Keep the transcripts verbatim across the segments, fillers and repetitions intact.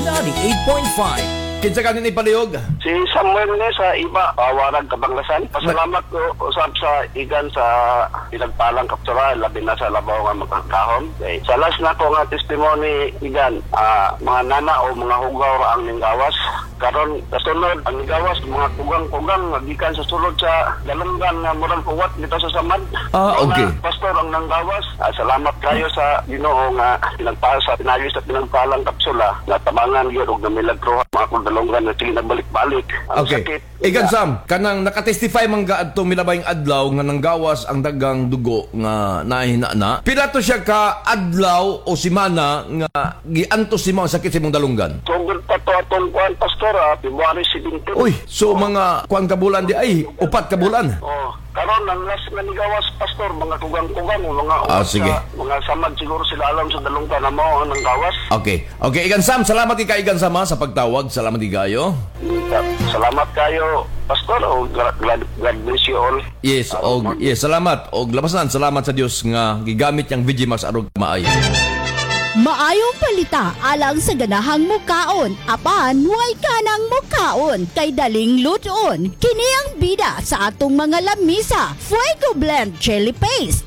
ninety-eight point five. Kinsa ka ni palihog? Si Samuel ni sa Iba, Pawarag, Kabanglasan. Pasalamat ko usab sa igan sa pinagpalang kaptura, labi na sa labaw nga makakahom. Okay. Sa last na ko nga testimony igan, ah, mga nana o mga hugaw ra ang ninggawas. Karon kasunod ang ninggawas mga kugang-kugang gikan sa sulod sa galunggan nga murag uwat nito sa samad. Ah, okay. Na, pastor ang nanggawas. Ah, salamat kayo sa Ginoo nga pinagpasa sa pinagi sa pinagpalang kapsula nga tabangan gyud og namilagro mga kong dalunggan na sige nagbalik-balik. Ang Okay. sakit. Igan Sam, kanang nakatestify man ka adtong milabayng adlaw nga nanggawas ang dagang dugo nga nahina na. Pila to siya ka adlaw o simana nga giantos nimo ang sakit sa imong dalunggan? Tungod pa to atong kuan pastor, ah, February seventeen. Uy, so mga kuan ka bulan di ay, upat ka bulan. Oh, karon ang last nga nigawas pastor, mga kugang-kugang, mga Ah, uwat sige. sa- mga samad siguro sila alam sa dalunggan na mao ang nanggawas. Okay. Okay, Igan Sam, salamat kay Igan Sam ha, sa pagtawag. Salamat kayo. Salamat kayo, pastor. O God, God bless you all. Yes, og yes, salamat. Og labasan, salamat sa Dios nga gigamit niyang V J Max aron maayo. Maayong palita alang sa ganahang mukaon, apan way kanang mukaon kay daling lutoon. Kini ang bida sa atong mga lamisa, Fuego Blend Chili Paste.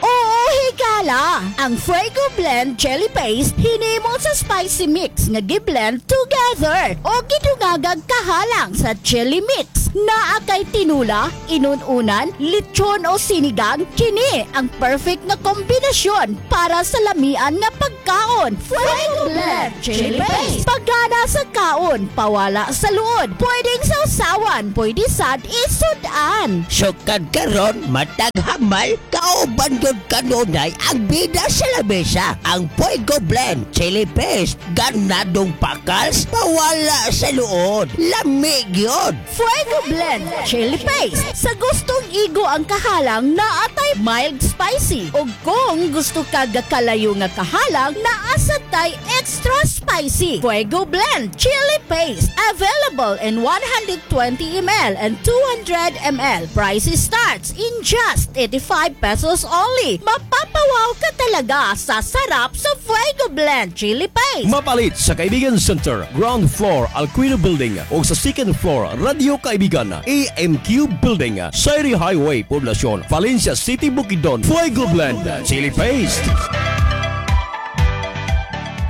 Oo, higala! Ang Fuego Blend Chili Paste hinimo sa spicy mix nga giblend together o gidungagag kahalang sa chili mix. Naa kay tinula, inununan, lechon o sinigang, kini ang perfect nga kombinasyon para sa lamian nga pagkaon. Fuego Blend Chili Paste. Pagana sa kaon, pawala sa luod. Pwedeng sausawan, pwede sad isudan. Sukad karon matag hamal, kauban gyud kanunay ang bida sa lamesa. Ang Fuego Blend Chili Paste, ganadong pakals, pawala sa luod. Lami gyud. Fuego Blend Chili Paste. Sa gustong igo ang kahalang, naatay mild spicy. O kung gusto ka gakalayo nga kahalang, naasad tay extra spicy. Fuego Blend Chili Paste. Available in one hundred twenty milliliters and two hundred milliliters. Price starts in just eighty-five pesos only. Mapapawaw ka talaga sa sarap sa Fuego Blend Chili Paste. Mapalit sa Kaibigan Center, ground floor, Alquino Building o sa second floor, Radio Kaibigan, A M Q Building, Sayri Highway, Poblacion, Valencia City, Bukidnon. Fuego Blend Chili Paste.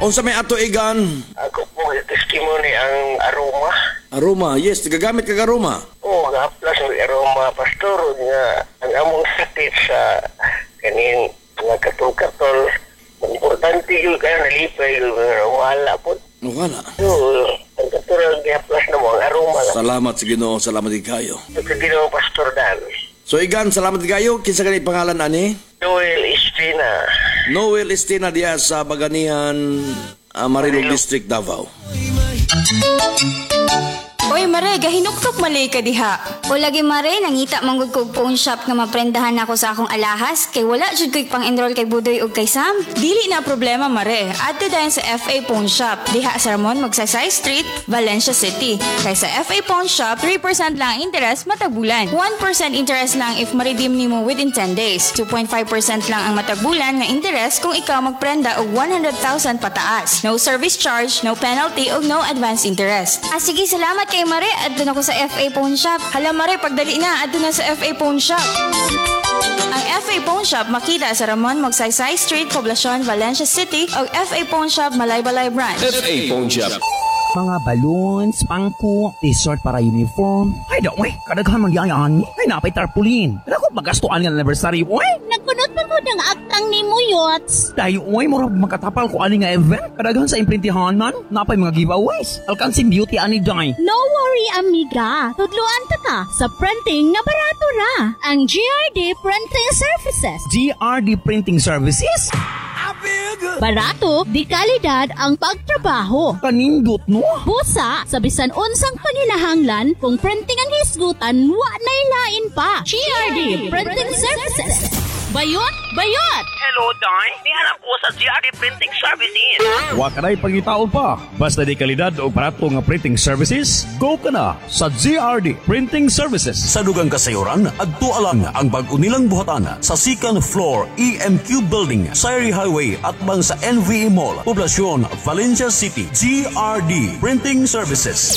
Unsa may ato, Igan? Ako po, testimony ang aroma. Aroma, yes, gagamit kag aroma. Oo, gahaplas ng aroma, pastor, nga ang among sakit sa kaning mga katol-katol, importante yun kaya nalipay yun, pero wala po. Wala. So, ang katulad gihaplas na mo, ang aroma lang. Salamat sa Ginoo, salamat din kayo. Sa Ginoo, Pastor Dan. So Igan, salamat kayo. Kinsa kani pangalan ani? Noel Estina. Noel Estina diya sa Baganihan, uh, Marilog District, Davao. Oy Mare, gahinuktok malay ka diha. O lagi Mare, nangita manggod kog pawn shop nga maprendahan ako sa akong alahas kay wala jud ko'y pang-enroll kay Budoy ug kay Sam. Dili na problema, Mare. Adto dayon sa F A Pawn Shop. Diha sa Ramon Magsaysay Street, Valencia City. Kay sa F A Pawn Shop, three percent lang ang interest matag bulan. one percent interest lang if ma-redeem nimo within ten days. two point five percent lang ang matag bulan nga interest kung ikaw magprenda og one hundred thousand pataas. No service charge, no penalty ug no advance interest. Ah sige, salamat kay Mare. Adto na ko sa F A Pawn Shop. Hala Mare, pagdali na, adto na sa F A Pawn Shop. Ang F A Pawn Shop makita sa Ramon Magsaysay Street, Poblacion, Valencia City o F A Pawn Shop Malaybalay Branch. F A Pawn Shop. Mga balloons, pangko, t-shirt para uniform. Ay, da, uy, kadaghan man yan. Ay, napay tarpaulin. Dako magastuan nga anniversary, uy. Nagkunot pa ko ng agtang ni mo, Yots. Dayo, uy, murag makatapal ko ani nga event. Kadaghan sa imprintihan man, napay mga giveaways. Alkansin Beauty ani day. No worry, amiga. Tudluan ta ka sa printing nga barato ra. Ang G R D Printing Services. G R D Printing Services? Barato, di kalidad ang pagtrabaho. Kanindot, no? Busa, sa bisan unsang panginahanglan, kung printing ang hisgutan, wa na'y lain pa. G R D Printing Services. Bayot, bayot! Hello, Day. Nihanap ko sa G R D Printing Services. Wa kanay pangitaon pa. Basta di kalidad o barato nga printing services, go ka na sa G R D Printing Services. Sa dugang kasayuran, adto lang ang bag-o nilang buhatan sa second floor E M Q Building, Sayri Highway atbang sa N V E Mall, Poblacion, Valencia City. G R D Printing Services.